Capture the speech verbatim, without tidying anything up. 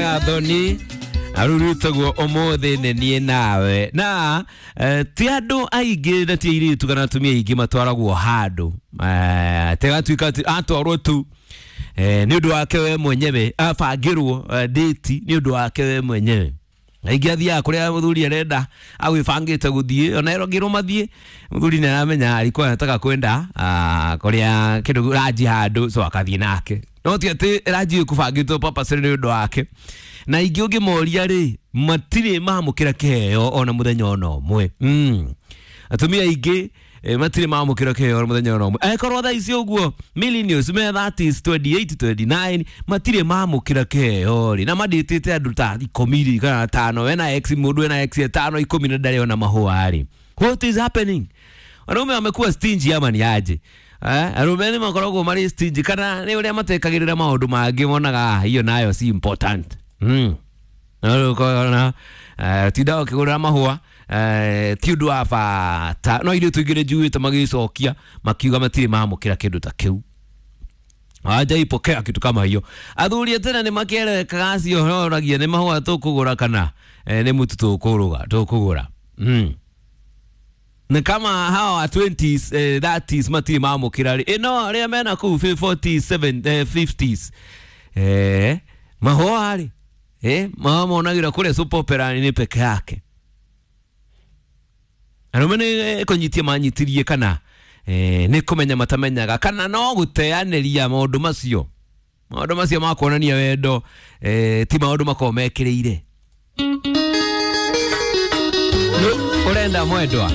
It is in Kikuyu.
Gathoni arurutagwo umuthi nĩ niĩ nawe na eh, ti andũ aingĩ na ti airĩtu kana atumia aingĩ matwaragwo handũ eh, tegatuĩka atĩ atwarwo tu eh, nĩ ũndũ wake we mwenyewe abangĩrwo eh, date nĩ ũndũ wake we mwenyewe. Aingĩ athiaga kũrĩa mũthuri arenda agwĩbangĩte gũthiĩ ona erongĩrwo mathiĩ mũthuri nĩ aramenya alikuwa anataka kwenda ah, kũrĩa kĩndũ ranji handũ so akathiĩ nake no ti atĩ ranji ĩkũbangĩtwo purposely nĩ ũndũ wake. Na ingĩ ũngĩmoria rĩ matirĩ mamũkĩra kĩheo ona mũthenya ona ũmwe. mm. Atumia aingĩ eh, matirĩ mamũkĩra kĩheo mũthenya ona ũmwe angĩkorwo thaa ici ũguo millennials me thirties twenty-eight twenty-nine matirĩ mamũkĩra kĩheo rĩ na mandĩtĩte andũ ta ikũmi rĩ kana tano wena ex mũndũ wena ex tano ikũmi na ndarĩ ona mahũa rĩ, what is happening? Wanaume wamekuwa stingy ama ni aje? Eh, arũme nĩ makoragwo marĩ stingy kana nĩ ũrĩa matekagĩrĩra maũndũ mangĩ monaga hiyo nayo si important. Mm. Na eh, tinda ũkĩgũrĩra mahũa eh, ti ũndũ wa bata no ithuĩ tũingĩ nĩ njuĩte magĩcokia makiuga matirĩ mamũkĩra kĩndũ ta kĩu hawajaipokea kitu kama hiyo. Athuri a tene nĩ makĩerekaga acio horagia nĩ mahũa tũkũgũra kana eh, nĩ mũtu tũkũruga tũkũgũra. Mm. Ni kama hawa wa twenties eh, thirties matirĩ mamũkĩra rĩ ĩno arĩa mena kũu forties seven eh, fifties eh, mahũa rĩ eh, mahũa monagĩra kũrĩa soap opera nĩ peke yake. Arũme nĩ kũnyitia manyitirie kana eh, nĩ kũmenya matamenyaga kana no gũteanĩria maũndũ macio maũndũ macio ma kuonania wendo eh, ti maũndũ makoragwo mekĩrĩire. Ũrenda mwendwa